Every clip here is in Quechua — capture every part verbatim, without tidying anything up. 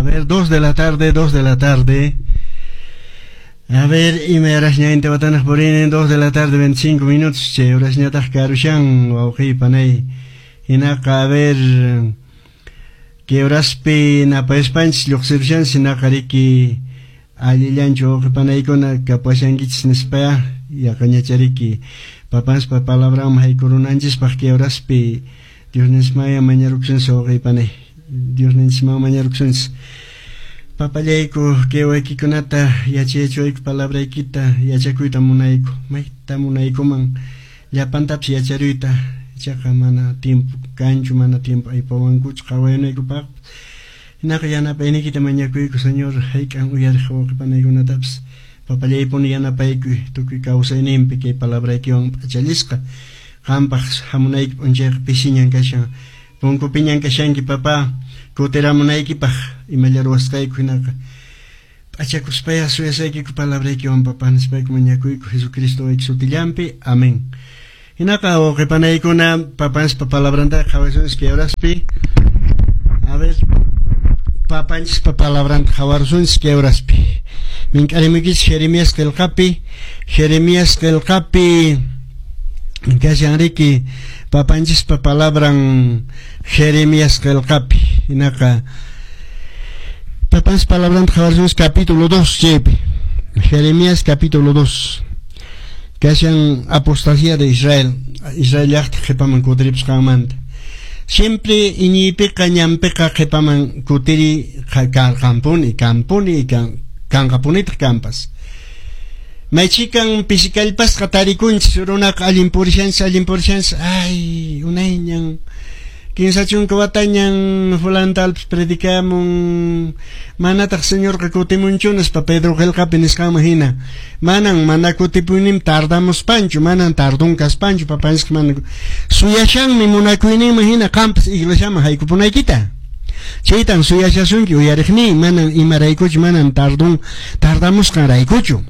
ver, dos de la tarde, dos de la tarde. A ver, ima horasña intihuatanaq purini, dos de la tarde, veinticinco minutos, chay horasñataq karushan, wawqiy panay. Hinaqa, a ver, kay horaspi napayaspanchis lluqsirushanchis, hinaqa riki allillanchu wawqi panaykuna kapashankichis nispaya, yaqañachariki papanspa palabranman haykurunanchispaq kay horaspi Diosninchismanya mañarukusunchis wawqiy panay. Diosninchisman mañarukusunchis. Papallayku kay waykikunata yachayachiwayku palabraykita yachakuyta munayku, mayta munaykuman llapantapis yacharuyta, ichaqa mana tiempo kanchu, mana tiempo aypawankuchu qhawaynaykupaq. Hinaqa yanapayniykita mañakuyku, Señor, hayk'an uyariq wawqi panaykunatapis papallaypuni yanapaykuy tukuy kawsayninpi kay palabraykiwan p'achallisqa qampaq hamunayki p'unchayqa pisiñan kashan, punkupiñan kashanki papá, kutiramunaykipaq imalla ruwasqayku hinaqa p'achakuspaya suyasaykiku palabraykiwan papá nispayku mañakuyku Jesucristo wayki sutillanpi, amén. Hinaqa wawqi panaykuna papanchispa palabrantaqa qhawasunchis kay horaspi. A ver, papanchispa palabranta qhawarusunchis kay horaspi. Mink'arimuykichis Jeremías qillqapi, Jeremías qillqapi kashan riki papanchispa palabran Jeremías qillqapi. Hinaqa papanchispa palabranta qhawarusunchis capítulo dos chaypi. Jeremías capítulo dos. Kashan apostasía de Israel, Israel llaqta qhipaman kutiripusqanmanta. Siempre iñiypiqa ñanpiqa qhipaman kutiri karqanpuni, kanpuni, kanqapunitaq kanpas. Maychikan pisikallpasqa tarikunchis runaqa allin purishanchis, allin purishanchis, ay, unayñan, kinsa chunka watañan fulantalpis predicamun, manataq Señorqa kutimunchu nispa Pedro qillqapi nisqanman hina, manan mana kutipunim tardamuspanchu, manan tardun kaspanchu, papanchisqa mana suyashanmi munakuyninman hina qampas iglesiaman haykupunaykita. Chaytan suyashasunki uyariqniy, manan imaraykuchu, manan tardun tardamusqanraykuchu.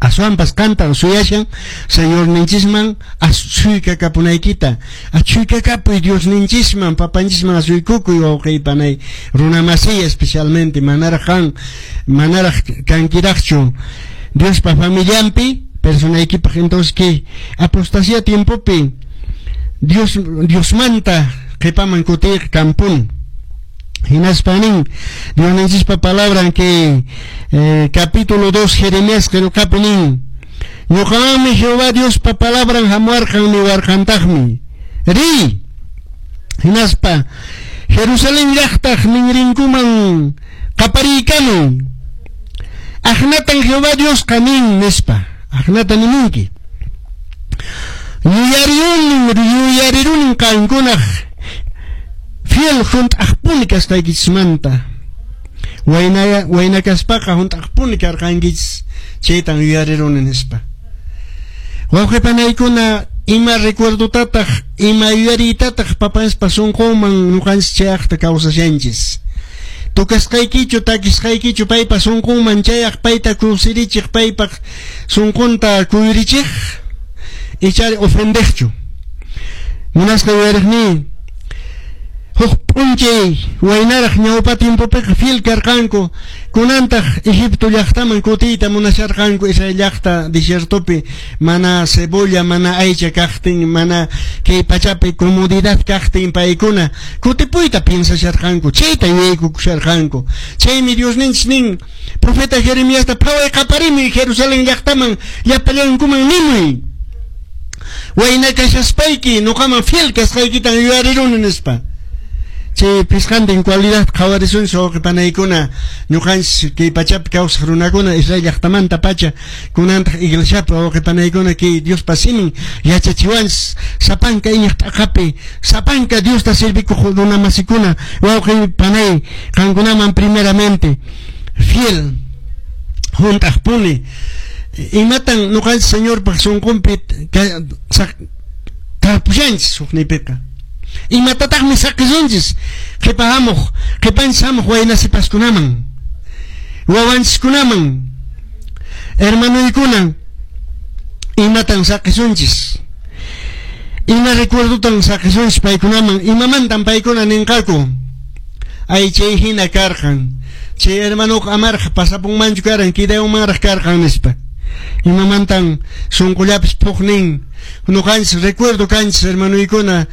Aswanpas qantan suyashan Señorninchisman asuykakapunaykita, achuykakapuy Diosninchisman, papanchisman asuykukuy wawqiy panay, runamasiy especialmente, manaraq qan, manaraq kankiraqchu Diospa familianpi, personaykipaq. Entonces que apostasía tiempopi Dios Diosmanta qhipaman kutiq kampun. Hinaspa nin Diosninchispa palabran que eh, capítulo dos Jeremías qillqapi nin, ñuqamanmi Jehová Diospa palabran hamuarqan niwarqantaqmi, riy hinaspa Jerusalén llaqtaq ninrinkuman qapariykamuy, aqnatan Jehová Diosqa nin nispa, aqnata nimunki, yuyarirunin yuyarirunin qankunaq fiel hunt'aqpuni kasqaykichismanta, wayna wayna kaspaqa hunt'aqpuni karqankichis, chaytan yuyariruni nispa. Wawqi panaykuna, ima recuerdotataq, ima yuyariytataq papanchispa sunqunman ñuqanchis chayaqta kawsashanchis. Tukasqaykichu, takisqaykichu paypa sunqunman chayaq, payta kusirichiq, paypaq sunqunta kuyurichiq, ichari ofendeqchu. Munasqa yuyariqniy, huk p'unchay waynaraq ñawpa tiempopiqa fiel karqanku, kunantaq Egipto llaqtaman kutiyta munasharqanku, Israel llaqta desiertopi mana cebolla, mana aycha kaqtin, mana kay pachapi comodidad kaqtin paykuna kutipuyta piensasharqanku, chayta yuyaykukusharqanku. Chaymi Diosninchis nin profeta Jeremiasta, phaway qaparimuy Jerusalén llaqtaman, llapallankuman nimuy, wayna kashaspayki ñuqaman fiel kasqaykitan yuyariruni nispa. Chay pisqantin cualidad qhawarisunchis wawqi panaykuna, ñuqanchis kay pachapi kawsaq runakuna Israel llaqtamanta pacha kunantaq iglesiapi wawqi panaykuna kay Diospa simin yachachiwanchis sapanka iñiq t'aqapi, sapanka Diosta servikuq runamasikuna wawqi panay, qankunaman primeramente fiel hunt'aqpuni. Imatan ñuqanchis Señorpaq sunqunpi tarpushanchis hukniypiqa, imatataqmi saqisunchis qhipa hamuq, qhipanchis hamuq wayna sipaskunaman, wawanchiskunaman, hermanoykuna, imatan saqisunchis, ima recuerdotan saqisunchis paykunaman, imamantan paykuna ninqaku. Aychay hina karqan. Chay hermanuqa amarqa pasapunmanchu karan, kidayunmanraq karqan nispa. Imamantan sunqullapis puqnin. Ñuqanchis recuerdo kanchis hermanuykuna,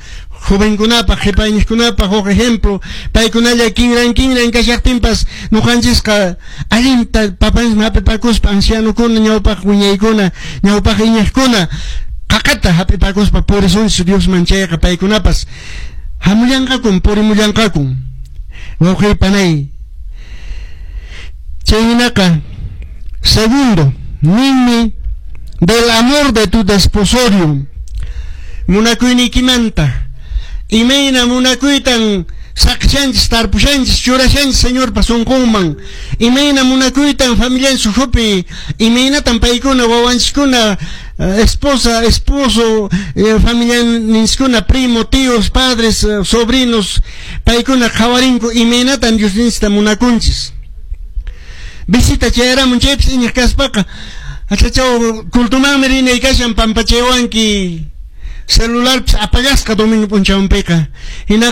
jovenkunapaq, qhipayniqkunapaq huk ejemplo, paykunalla kinran kinran kashaqtinpas ñuqanchisqa allinta papanchisman hap'ipakuspa ancianokuna, ñawpaq wiñaykuna, ñawpaq iñiqkuna qaqata hap'ipakuspa purisunchis Diosman chayqa paykunapas hamullanqakun, purimullanqakun. Wawqiy panay. Chay hinaqa, segundo, ninmi del amor de tu desposorio. Munakuyniykimanta. Imayna munakuytan saqshanchis, tarpushanchis, churashanchis Señorpa sunqunman. Imayna munakuytan familianchis ukhupi, imaynatan paykuna, wawanchiskuna, esposa, esposo, eh, familianinchiskuna, primo, tíos, padres, eh, sobrinos, paykuna qhawarinku imaynatan Diosninchista munakunchis. Visita chayaramun chaypis iñiq kaspaqa, achachaw cultumanmi rinay kashan pampachaywanki celularpis apagasqa domingo p'unchawpiqa. Hinaqa